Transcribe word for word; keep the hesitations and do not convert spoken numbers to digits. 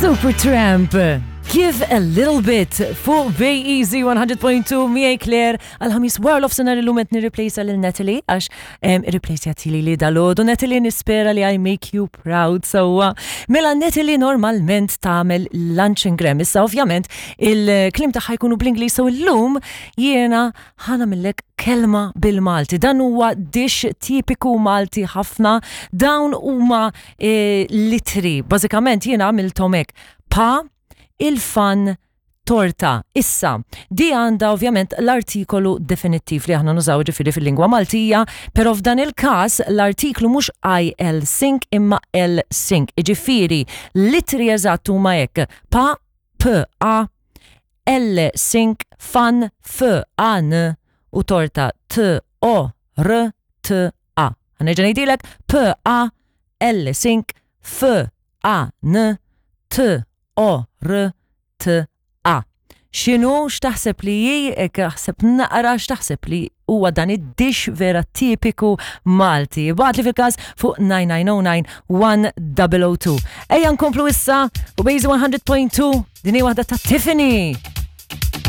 Supertramp. Give a little bit fuq Bay Easy one hundred point two, miegħi Claire għal-Ħamis wara nofsinhar. Illum qed nirreplejsa lil Natalie għax irreplejsjat li li dalgħodu. Natalie, nispera li I make you proud sewwa. Mela Natalie normalment tagħmel lunch and gram. Issa ovvjament il-kliem tagħha jkunu bl-Ingliż, so illum jiena ħa nagħmillek kelma bil-Malti. Dan huwa dish tipiku Malti ħafna. Dawn huma eh, l-ittri. Bażikament jiena għamilthom hekk. Pa, il-fan, torta. Issa, di għanda ovvjament l-artikolu definittiv li aħna nużaw ġifieri fil-lingwa Maltija, pero f'dan il-kas l-artiklu mhux I L sink imma L sink. Ġifieri, l-ittri eżatt huma hekk. Pa, P, A, L sink, fan, F, A, N u torta T, O, R, T, A. Ħa nerġa' ngħidilek: P, A, L sink, F, A, N, T, O, R, T, A. X'inhu, x'taħseb li hi, ek aħseb naqra x'taħseb li huwa dan id-dish vera tipiku Malti? Ibgħatli fil-każ fuq nine nine zero nine one zero zero two. Ejja nkomplu issa u Bejzi one hundred point two, din hi waħda ta' Tiffany.